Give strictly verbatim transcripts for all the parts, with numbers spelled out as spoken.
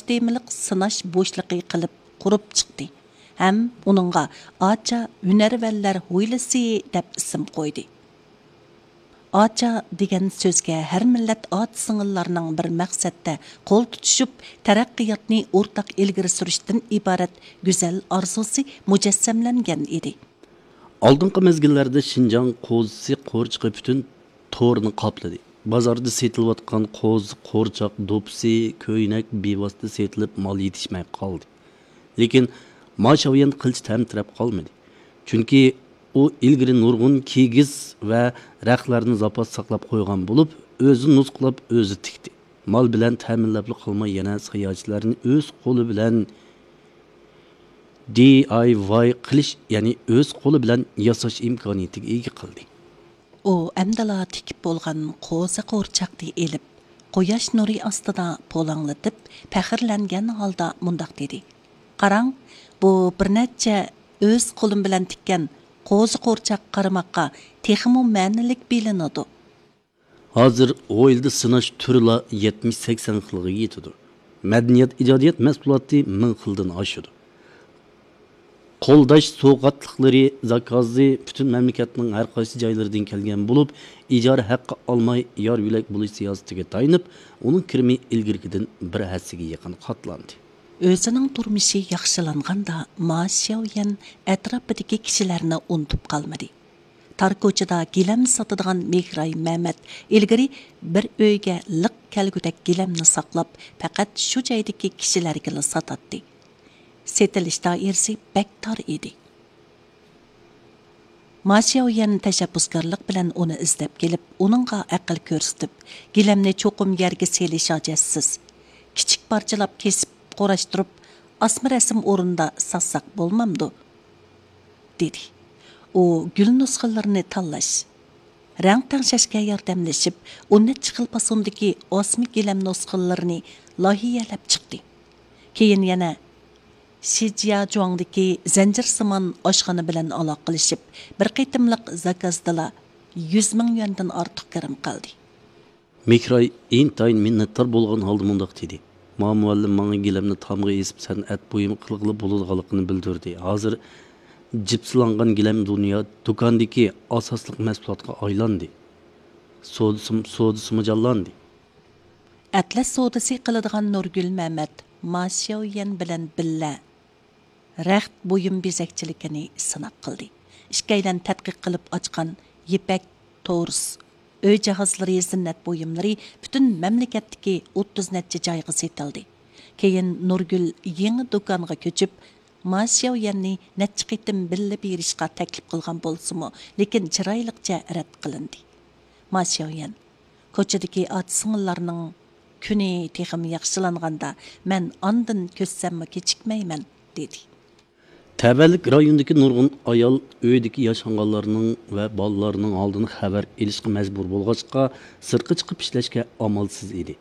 سىستېمىلىق سىناش بوشلۇقى قىلىپ قۇرۇپ چىقتى ھەم ئۇنىڭغا ئاچا ھۈنەرۋەنلەر ھويلىسى دەپ ئىسىم قويدى. ئاچا دېگەن سۆزگە ھەر مىللەت ئاچا-سىڭىللارنىڭ بىر مەقسەتتە قول تۇتۇشۇپ، تەرەققىياتنى ئورتاق ئىلگىرى سۈرۈشتىن ئىبارەت گۈزەل ئارزۇسى مۇجەسسەملەنگەن ئىدى. ئالدىنقى مەزگىللەردە شىنجاڭ قوزىسى قورچىقى پۈتۈن تورنى قاپلىدى. بازاردا سېتىلىۋاتقان قوزا، قورچاق دوپپىسى، كۆينەك بىۋاسىتە سېتىلىپ، مال يېتىشمەي قالدى. لېكىن ما شياۋيۈەن قىلچە تەمتىرەپ قالمىدى. چۈنكى ئۇ ئىلگىرى نۇرغۇن كىگىز ۋە رەختلەرنى زاپاس ساقلاپ قويغان بولۇپ، ئۆزى نۇسخىلاپ، ئۆزى تىكتى. مال بىلەن تەمىنلەپلا قالماي، يەنە ساياھەتچىلەرنى ئۆز قولى بىلەن دى ئاي ۋاي قىلىش، يەنى ئۆز قولى بىلەن ياساش ئىمكانىيىتىگە ئىگە قىلدى. ئۇ ئەمدىلا تىكىپ بولغان قوزا قورچاقنى ئېلىپ، قۇياش نۇرى ئاستىدا پۇلاڭلىتىپ، پەخىرلەنگەن ھالدا مۇنداق دېدى: «قاراڭ، بۇ بىر نەچچە ئۆز قولۇم بىلەن تىككەن قوزا قورچاق قارىماققا تېخىمۇ مەنىلىك بىلىنىدۇ.» ھازىر ھويلىدا سىناش تۈرىلا يەتمىش سەكسەن خىلغا يېتىدۇ. مەدەنىيەت ئىجادىيەت مەھسۇلاتى مىڭ خىلدىن ئاشىدۇ. قولداش سوۋغاتلىقلىرى زاكازى پۈتۈن مەملىكەتنىڭ ھەر قايسى جايلىرىدىن كەلگەن بولۇپ، ئىجارە ھەققى ئالماي يار يۆلەك بولۇش سىياسىتىگە تايىنىپ، ئۇنىڭ كىرىمى ئىلگىرىكىدىن بىر ھەسسىگە يېقىن قاتلاندى. ئۆزىنىڭ تۇرمۇشى ياخشىلانغاندا، ما شياۋيەن ئەتراپىدىكى كىشىلەرنى ئۇنتۇپ قالمىدى. تار كوچىدا گىلەم ساتىدىغان مېھراي مەمەت ئىلگىرى بىر ئۆيگە لىق كەلگۈدەك گىلەمنى ساقلاپ، پەقەت شۇ جايدىكى كىشىلەرگىلا ساتاتتى. سېتىلىش دائىرىسى بەك تار ئىدى. ما شياۋيەن تەشەببۇسكارلىق بىلەن ئۇنى ئىزدەپ كېلىپ، ئۇنىڭغا ئەقىل كۆرسىتىپ، گىلەمنى چوقۇم يەرگە سېلىش ھاجەتسىز. كىچىك پارچىلاپ كېسىپ، قۇراشتۇرۇپ، ئاسما رەسىم ئورنىدا ساتساق بولمامدۇ؟ دېدى. ئۇ گۈل نۇسخىلىرىنى تاللاش، رەڭ تەڭشەشكە ياردەملىشىپ، ئون نەچچە خىل پاسوندىكى ئاسما گىلەم نۇسخىلىرىنى لايىھەلەپ چىقتى. كېيىن يەنە شىجياجۇاڭدىكى زەنجىرسىمان ئاشخانا بىلەن ئالاقىلىشىپ، بىر قېتىملىق زاكازدىلا يۈز مىڭ يۈەندىن ئارتۇق كىرىم قىلدى. مېھراي ئىنتايىن مىننەتدار بولغان ھالدا مۇنداق دېدى: «ما مۇئەللىم ماڭا گىلەمنى تامغا ئېسىپ سەنئەت بۇيۇمى قىلغىلى بولىدىغانلىقىنى بىلدۈردى. ھازىر جىپسىلانغان گىلەم دۇنيا دۇكاندىكى ئاساسلىق مەھسۇلاتقا ئايلاندى. سودىسىمۇ، سودىسىمۇ جانلاندى.» ئەتلەس سودىسى قىلىدىغان نۇرگۈل مەمەت ما شياۋيەن بىلەن بىللە رەخت بۇيۇم بېزەكچىلىكىنى سىناق قىلدى. ئىككىيلەن تەتقىق قىلىپ ئاچقان يىپەك، تورۇس، ئۆي جاھازلىرى، زىننەت بۇيۇملىرى پۈتۈن مەملىكەتتىكى ئوتتۇز نەچچە جايغا سېتىلدى. كېيىن نۇرگۈل يېڭى دۇكانغا كۆچۈپ، ما شياۋيەننى نەچچە قېتىم بىللە بېرىشقا تەكلىپ قىلغان بولسىمۇ، لېكىن چىرايلىقچە رەت قىلىندى. ما شياۋيەن: «كوچىدىكى ئاچا-سىڭىللارنىڭ كۈنى تېخىمۇ ياخشىلانغاندا، مەن ئاندىن كۆچسەممۇ كېچىكمەيمەن» دېدى. تەۋەلىك رايوندىكى نۇرغۇن ئايال ئۆيدىكى ياشانغانلارنىڭ ۋە بالىلارنىڭ ھالىدىن خەۋەر ئېلىشقا مەجبۇر بولغاچقا، سىرتقا چىقىپ ئىشلەشكە ئامالسىز ئىدى.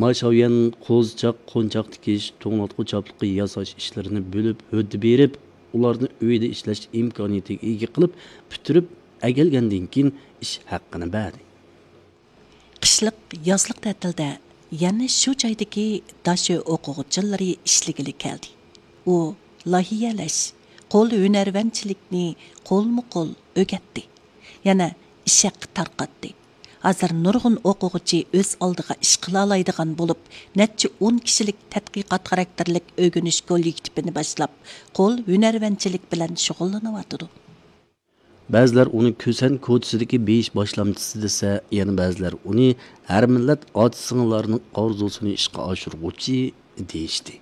ما شياۋيەن قوزىچاق، قونچاق تىكىش، توڭلاتقۇ چاپلىقى ياساش ئىشلىرىنى بۆلۈپ، ھۆددە بېرىپ، ئۇلارنى ئۆيدە ئىشلەش ئىمكانىيىتىگە ئىگە قىلىپ، پۈتتۈرۈپ ئەگەلگەندىن كېيىن ئىش ھەققىنى بەردى. قىشلىق، يازلىق تەتىلدە يەنە شۇ جايدىكى داشۆ ئوقۇغۇچىلىرى ئىشلىگىلى كەلدى. ئۇ لايىھەلەش، قول ھۈنەرۋەنچىلىكنى قولمۇ قول ئۆگەتتى. يەنە ئىش ھەققى تارقاتتى. ھازىر نۇرغۇن ئوقۇغۇچى ئۆز ئالدىغا ئىش قىلالايدىغان بولۇپ، نەچچە ئون كىشىلىك تەتقىقات خاراكتېرلىك ئۆگىنىش كوللېكتىپىنى باشلاپ، قول ھۈنەرۋەنچىلىك بىلەن شۇغۇللىنىۋاتىدۇ. بەزىلەر ئۇنى كۈسەن كوچىسىدىكى بېيىش باشلامچىسى دېسە، يەنە بەزىلەر ئۇنى ھەر مىللەت ئاچا-سىڭىللارنىڭ ئارزۇسىنى ئىشقا ئاشۇرغۇچى دېيىشتى.